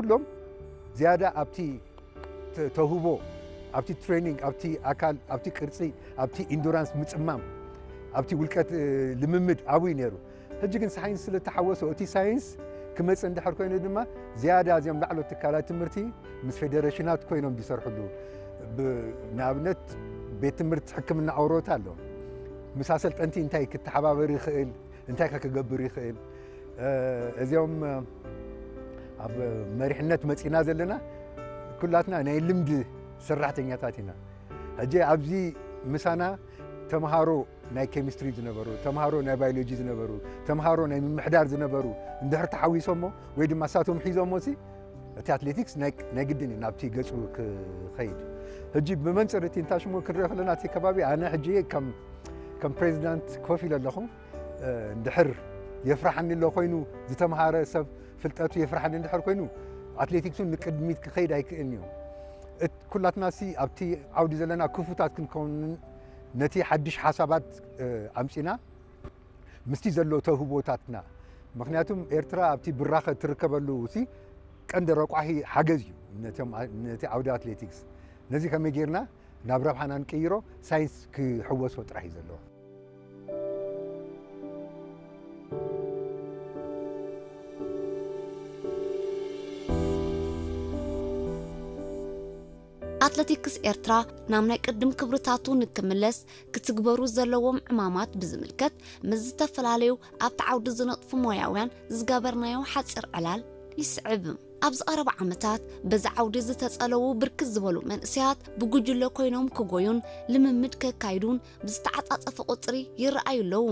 ኩሎም ዝያዳ ኣብቲ ተ- ተውህቦ፣ ኣብቲ ትሬኒንግ፣ ኣብቲ ኣካል፣ ኣብቲ ቅርጺ፣ ኣብቲ ኢንዱራንስ ምጽማም፣ ኣብቲ ውልቀት ልምምድ ኣብይ ነይሩ። ሕጂ ግን ሳይንስ ስለ ተሓወሶ እቲ ሳይንስ ክመጽእ እንድሕር ኮይኑ ድማ ዝያዳ እዚኦም ላዕሎት ትካላት ትምህርቲ ምስ ፌደሬሽናት ኮይኖም ዝሰርሕሉ፣ ንኣብነት ቤት ትምህርቲ ሕክምና ኣውሮታ ኣሎ። ምስ ኣሰልጠንቲ እንታይ ክተሓባበር ይኽእል፣ እንታይ ከ ክገብር ይኽእል፣ እዚኦም ኣብ መሪሕነት መጺና ዘለና ኩላትና ናይ ልምዲ ሰራሕተኛታት ኢና። ሕጂ ኣብዚ ምሳና ተምሃሮ ናይ ኬሚስትሪ ዝነበሩ፣ ተምሃሮ ናይ ባዮሎጂ ዝነበሩ፣ ተምሃሮ ናይ ምምሕዳር ዝነበሩ እንድሕር ተሓዊሶሞ ወይ ድማ ሳቶም ሒዞሞ ሲ እቲ ኣትሌቲክስ ናይ ግድን እዩ ናብቲ ገጹ ክኸይድ። ሕጂ ብመንጽር እቲ እንታሽሞ ክንሪኦ ከለና እቲ ከባቢ ኣነ ሕጂ ከም ከም ፕሬዚዳንት ኮፍ ኢለ ኣለኹ። እንድሕር የፍርሓኒ ኣሎ ኮይኑ ዝተምሃረ ሰብ ፍልጠቱ የፍርሓኒ እንድሕር ኮይኑ ኣትሌቲክሱን ንቅድሚት ክኸይድ ኣይክእልን እዩ። ኩላትና ሲ ኣብቲ ዓውዲ ዘለና ክፉታት ክንከውን ነቲ ሓድሽ ሓሳባት ኣምጺና ምስቲ ዘሎ ተውህቦታትና ምክንያቱም ኤርትራ ኣብቲ ብራኸ ትርከበሉ ሲ ቀንዲ ረቋሒ ሓገዝ እዩ ነቲ ዓውዲ ኣትሌቲክስ ነዚ ከመይ ጌርና ናብ ረብሓና ንቅይሮ ሳይንስ ክሕወሶ ጥራሕ እዩ ዘለዎ። ኣትለቲክስ ኤርትራ ናብ ናይ ቅድም ክብርታቱ ንክምለስ ክትግበሩ ዘለዎም ዕማማት ብዝምልከት ምስ ዝተፈላለዩ ኣብቲ ዓውዲ ዝነጥፉ ሞያውያን ዝገበርናዮ ሓፂር ዕላል ይስዕብ። ኣብዚ ቀረባ ዓመታት በዚ ዓውዲ ዝተጸለዉ ብርክት ዝበሉ መንእሰያት ብጉጅለ ኮይኖም ክጎዩን ልምምድ ከካይዱን ብዝተዓጻጸፈ ቁጽሪ ይረኣዩ ኣለዉ።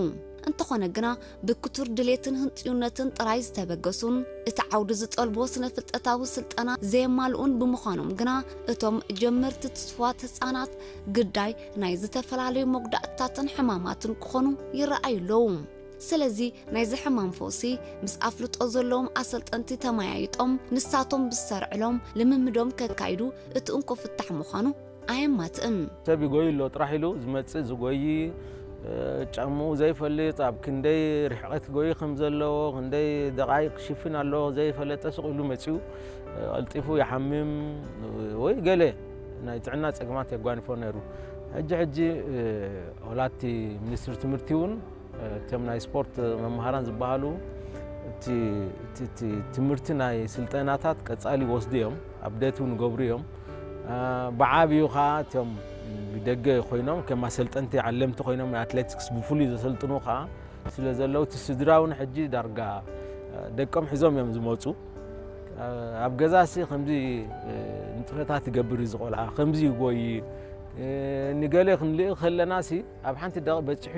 እንተኾነ ግና ብክቱር ድሌትን ህንጽዩነትን ጥራይ ዝተበገሱን እቲ ዓውዲ ዝጠልቦ ስነ ፍልጠታዊ ስልጠና ዘየማልኡን ብምዃኖም ግና እቶም ጀመርቲ ትስፉዋት ህጻናት ግዳይ ናይ ዝተፈላለዩ መጉዳእትታትን ሕማማትን ክኾኑ ይረኣዩ ኣለዉ። ስለዚ ናይዚ ሕማም ፈውሲ ምስ ኣፍልጦ ዘለዎም ኣሰልጠንቲ ተመያይጦም ንሳቶም ብዝሰርዕሎም ልምምዶም ከካይዱ እቲ እንኮ ፍታሕ ምዃኑ ኣየማትእን። ሰብ ይጎይ ኣሎ ጥራሕ ኢሉ ዝመፅእ ዝጎይ ጫምኡ ዘይፈልጥ ኣብ ክንደይ ርሕቐት ጎይ ከም ዘለዎ ክንደይ ደቃይቅ ክሽፍን ኣለዎ ዘይፈለጠ ስቕ ኢሉ መፅኡ ቀልጢፉ ይሓምም ወይ ገለ ናይ ጥዕና ፀገማት የጓንፎ ነይሩ። ሕጂ ሕጂ ወላቲ ሚኒስትሪ ትምህርቲ እውን እቶም ናይ ስፖርት መምሃራን ዝበሃሉ እቲ ትምህርቲ ናይ ስልጠናታት ቀፃሊ ይወስዱ እዮም፣ ኣብደት እውን ይገብሩ እዮም። ብዓብዩ ከዓ እቶም ብደገ ኮይኖም ከም ኣሰልጠንቲ ዓለምቲ ኮይኖም ኣትሌቲክስ ብፍሉይ ዘሰልጥኑ ከዓ ስለ ዘለዉ እቲ ስድራ እውን ሕጂ ዳርጋ ደቆም ሒዞም እዮም ዝመፁ። ኣብ ገዛ ሲ ከምዚ ንጥፈታት ይገብር እዩ ዝቆልዓ ከምዚ ይጎይ ንገለ ክንልኢ ከለና ሲ ኣብ ሓንቲ ደቂ በፂሑ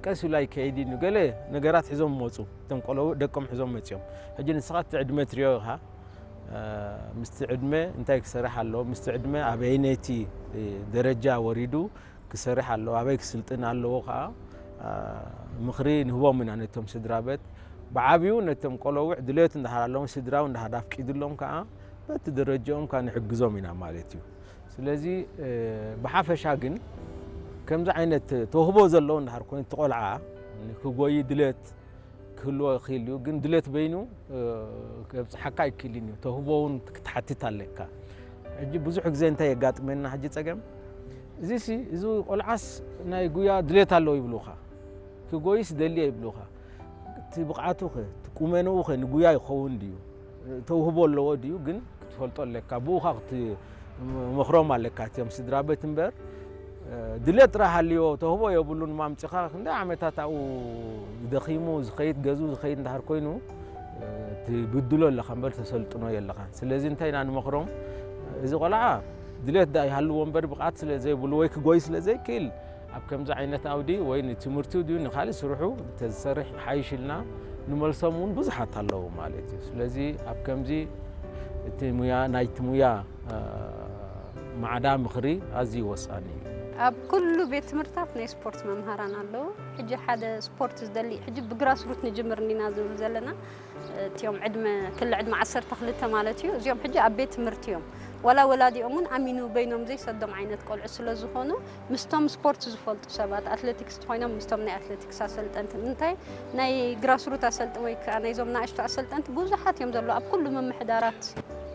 ቀስ ኢሉ ኣይከይድ እዩ ገለ ነገራት ሒዞም መፁ እቶም ቆለቡ ደቆም ሒዞም መፅኦም ሕጂ ንስኻ እቲ ዕድመ ትሪኦ ኢኻ ምስቲ ዕድመ እንታይ ክሰርሕ ኣለዎ ምስቲ ዕድመ ኣበይነይቲ ደረጃ ወሪዱ ክሰርሕ ኣለዎ ኣበይ ክስልጥን ኣለዎ ከዓ ምኽሪ ንህቦም ኢና ነቶም ስድራ ቤት ብዓብዩ ነቶም ቆለውዕ ድሌት እንዳሃር ኣለዎም ስድራው እንዳሃር ኣፍቂድሎም ከዓ በቲ ደረጃኦም ከዓ ንሕግዞም ኢና ማለት እዩ ስለዚ ብሓፈሻ ግን ከምዚ ዓይነት ተውህቦ ዘለዎ እንዳሃር ኮይኑ ትቆልዓ ክጎይ ድሌት ክህልዎ ይኽእል እዩ ግን ድሌት በይኑ ከብፅሓካ ኣይክእልን እዩ ተውህቦ እውን ክትሓትት ኣለካ ሕጂ ብዙሕ ግዜ እንታይ የጋጥመና ሕጂ ፀገም እዚ ሲ እዚ ቆልዓስ ናይ ጉያ ድሌት ኣለዎ ይብሉኻ ክጎይስ ደልየ ይብሉኻ እቲ ብቕዓቱ ኸ እቲ ቁመንኡ ኸ ንጉያ ይኸውን ድዩ ተውህቦ ኣለዎ ድዩ ግን ክትፈልጦ ኣለካ ብኡ ኻ ክትመኽሮም ኣለካ እቲኦም ስድራ ቤት እምበር ድሌት ጥራሕ ሃልዮ ተውህቦ የብሉን ማምፅኻ ክንደይ ዓመታት ኣብኡ ደኺሙ ዝኸይድ ገዝኡ ዝኸይድ እንዳሃር ኮይኑ ትብድሎ ኣለኻ እምበር ተሰልጥኖ የለኻ ስለዚ እንታይ ኢና ንመኽሮም እዚ ቆልዓ ድሌት ዳ ይሃልዎ እምበር ብቕዓት ስለ ዘይብሉ ወይ ክጎይ ስለ ዘይክእል ኣብ ከምዚ ዓይነት ኣውዲ ወይ ንትምህርቱ ድዩ ንካልእ ስርሑ ተዝሰርሕ ሓይሽ ኢልና ንመልሶም እውን ብዙሓት ኣለዉ ማለት እዩ ስለዚ ኣብ ከምዚ እቲ ሙያ ናይቲ ሙያ ማዕዳ ምኽሪ ኣዝዩ ወሳኒ እዩ ኣብ ኩሉ ቤት ትምህርታት ናይ ስፖርት መምሃራን ኣለዉ ሕጂ ሓደ ስፖርት ዝደሊ ሕጂ ብግራስሩት ንጅምር እንዲና ዝብል ዘለና እቲኦም ዕድመ ክሊ ዕድመ ዓሰርተ ክልተ ማለት እዩ እዚኦም ሕጂ ኣብ ቤት ትምህርቲ እዮም ዋላ ወላዲኦም እውን ኣሚኑ በይኖም ዘይሰዶም ዓይነት ቆልዑ ስለ ዝኾኑ ምስቶም ስፖርት ዝፈልጡ ሰባት ኣትሌቲክስ ተኮይኖም ምስቶም ናይ ኣትሌቲክስ ኣሰልጠንቲ እንታይ ናይ ግራስሩት ኣሰልጥ ወይ ከዓ ናይዞም ናእሽቱ ኣሰልጠንቲ ብዙሓት እዮም ዘለዉ ኣብ ኩሉ ምምሕዳራት